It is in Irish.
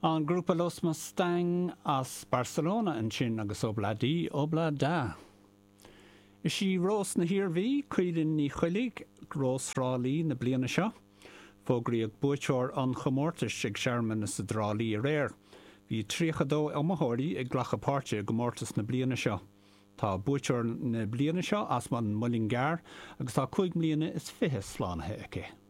An grúpa Los Mustang as Barcelona ansin agus Ob-La-Di, Ob-La-Da. Is í Rós na hIarmhí, Caoilinn Ní Choiligh, Rós Thrá Lí na bliana seo. Fógraíodh buaiteoir an chomórtais ag searmanas i dTrá Lí aréir. Bhí 32 iomaitheoirí ag glacadh páirte i gcomórtas na bliana seo. Tá buaiteoir na bliana seo as an Muileann gCearr agus tá 25 mbliana slánaithe aici.